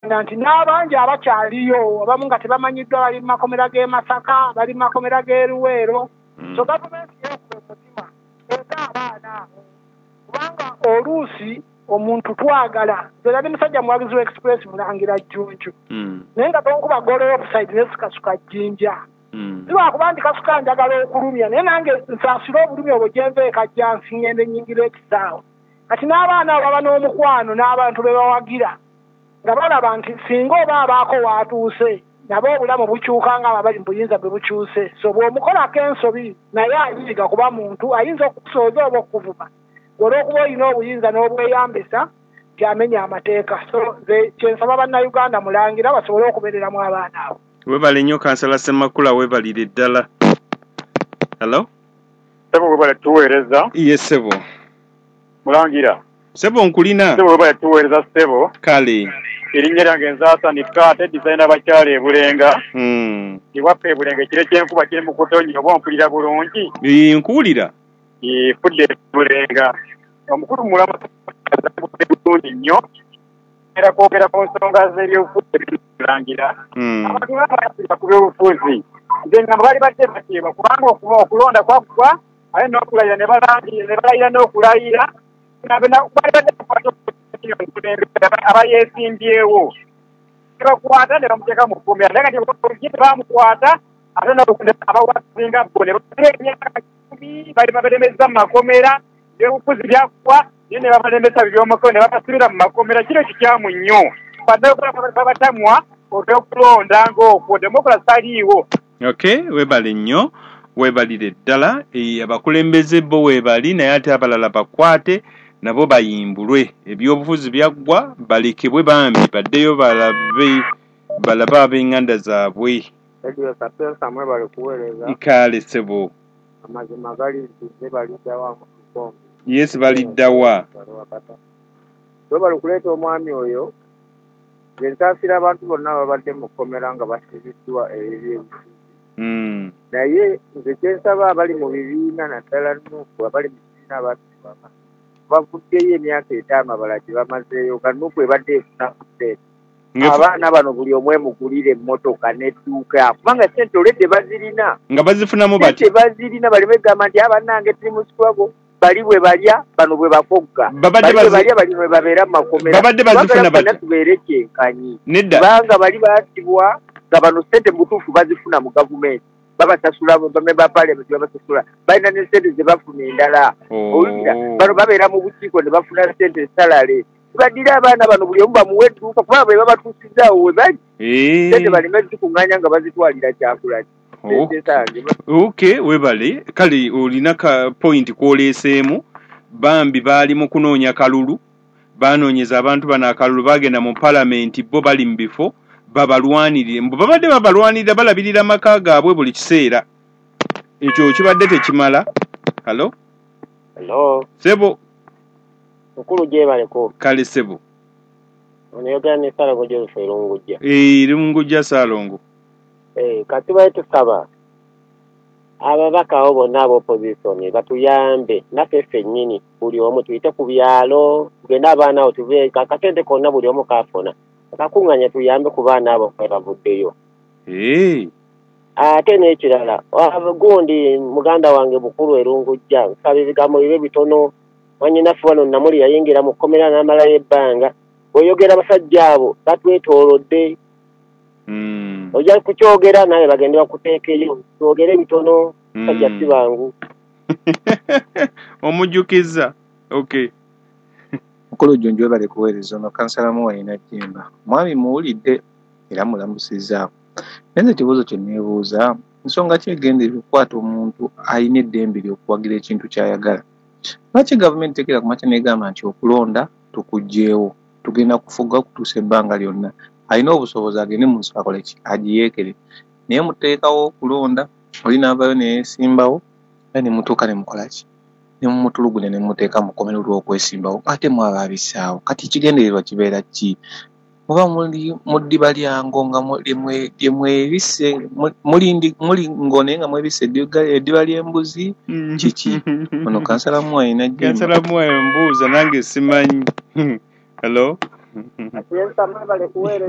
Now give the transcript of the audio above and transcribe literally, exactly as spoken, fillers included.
Nti n'abangi abakyaliyo abamu nga tebamanyiddwa bali mu makomera g'e Masaka, bali mu makomera g'e Luweero. So gavumenti yeekuba omutima eza abaana abo, kubanga oluusi omuntu twagala. Nze nali musajja muwagizi wa Express Mulangira Jjunju, naye nga tonkuba goolo offside ne sikasuka jjinja. Si lwakuba nti kasuka njagala okulumya, naye nange nsaasire obulumi obwo gye nva e Kajjansi ngende nnyingira ekisaawe. Kati n'abaana abo baba n'omukwano n'abantu be bawagira nga balaba nti singa oba abaako waatuuse nabo obulamu bukyuka nga abo abali mu buyinza bwe bukyuse. So bw'omukolako ensobi naye ayiga kuba muntu ayinza okukusooza oba okukuvuma olw'okuba olina obuyinza n'obweyambisa nti amenya amateeka. So nze kyensaba Bannayuganda Mulangira basobole okubeereramu abaana abo. Webale nnyo Kansala Ssemakula, weebalire ddala. Hello? Ssebo webale tuweereza. Ye ssebo. Mulangira. Ssebo nkulina. Ssebo webale tuweereza ssebo. Kale. Erinnya lyange nze Hassan Kaate, designer abakyala e Bulenga. Mm. Ewaffe e Bulenga ekiro ky'enkuba kiri mu kutonnya, oba ompulira bulungi? Ee, nkuwulira. Ee, fudde e Bulenga. Omukulu mulamu bulungi nnyo. Era kwogera ku nsonga z'ebyobufuzi Mulangira. Mm. Abantu babaasira ku byobufuzi. Nze ngamba bali badde bateebwa kubanga okuba okulonda kwaggwa, ate n'okulayira ne balangira, ne balayira n'okulayira. Bali badde bakwata abayeesimbyewo. Ne bakwata ne bamuteeka mu kkomera. Naye kati bamukwata ate abawasinga bo ne babeera emyaka kkumi bali babalemeza mu makomera, ebyobufuzi byaggwa, naye ne babalemesa eby'omukono ne babasibira mu makomera. Kino kikyamu nnyo. Bannayuganda babatamwa olw'okulonda ng'okwo, demokulasi taliiwo. Okay, weebale nnyo, weebalire ddala. Abakulembeze bo weebali, naye ate abalala bakwate nabo bayimbulwe. Ebyobufuzi byaggwa, balekebwe bambi baddeyo balabe balabe ab'enganda zaabwe. Radio Sapienza mwebale kuweereza. Kale ssebo. Amazima gali nti nze baliddawa mu Kikongo. Yes, baliddawa. Webale kuleeta omwami oyo. Nze nsaasira abantu bonna ababadde mu kkomera nga basibiddwa ebyobufuzi. Mm. Naye nze kye nsaba abali mu bibiina naddala Nuupu, abali mu kibiina abattibwa bavuddeyo emyaka etaano abalala gye bamazeeyo nga Nuupu ebadde efuna ku ssente. Abaana bano buli omu emugulira emmotoka n'edduuka kubanga ssente oledde bazirina. Nga bazifunamu batya? Ssente bazirina, baleme kugamba nti abannange tuli mu struggle, bali bwe balya bano bwe bakogga. Babadde Bali bwe balya bali bwe babeera mu makomera. Babadde bazifuna batya? Tubeere kyenkanyi. Nedda. Kubanga bali battibwa nga bano ssente mu butuufu bazifuna mu gavumenti. Babasasula bamemba ba parliament babasasula. Balina ne ssente ze bafuna endala. Owulira? Bano babeera mu bukiiko ne bafuna ssente salale. Baddira abaana bano buli omu bamuwe edduuka kuba bwe babatuusizaawo we bali. Ssente baleme zikuŋŋaanya nga bazitwalira Kyagulanyi. Okay, webale. Kale olina ka point kw'oleeseemu. Bambi baali mu kunoonya kalulu, banoonyeza abantu bano akalulu, bagenda mu palamenti bo bali mu bifo babalwanirire. Mbu babadde babalwanirira, balabirira amaka gaabwe buli kiseera. Ekyo kibadde tekimala. Hello? Hello. Ssebo. Mukulu gyebaleko. Kale ssebo. Ono yogera ne Ssaalongo Joseph Erungujja. Ee, Erungujja Ssaalongo. Eh, kati bali tusaba ababaka abo bonna ab'opposition batuyambe naffe ffennyini buli omu tuyite ku byalo, tugende abaana abo tuve akasente konna buli omu kaafuna akakuŋŋaanya tuyambe ku baana abo kwe bavuddeyo. Ee. Ate n'ekirala gundi muganda wange Bukulu Erungujja nsaba ebigambo bibe bitono. Mwannyinaffe wano Namuli yayingira mu kkomera n'amalayo ebbanga. Bw'oyogera abasajja abo batwetoolodde. Mm. Ojja kukyogera naye bagende bakuteekeyo. Twogere bitono, sajja si bangu. Omujjukiza. Okay. Mukulu Jjunju webale kuweereza. Ono kansala Muwalina Jjemba. Mwami muwulidde era mulamusizzaako. Naye nze ekibuuzo kye neebuuza, nsonga ki egenderera okukwata omuntu alina eddembe ly'okuwagira ekintu ky'ayagala? Lwaki gavumenti tekera ku makya n'egamba nti okulonda tukuggyewo, tugenda kufuga kutuusa ebbanga lyonna? Alina obusobozi agende mu nsiko akole ki? Agiyeekere. Naye muteekawo okulonda, oli n'avaayo ne yeesimbawo, era ne mutuuka ne mukola ki? Ne mumutulugunya ne mumuteeka mu kkomera olw'okwesimbawo, ate mwaba abissaawo. Kati ekigendererwa kibeera ki? Muba muli mu ddiba lya ngo nga lye mwebisse, muli ngo naye nga mwebisse eddiba ly'embuzi, kiki? Ono kansala Muwalina Jjemba. Kansala Muwalina mbuuza nange simanyi. Hello? Atiyensa mwebale kuweereza.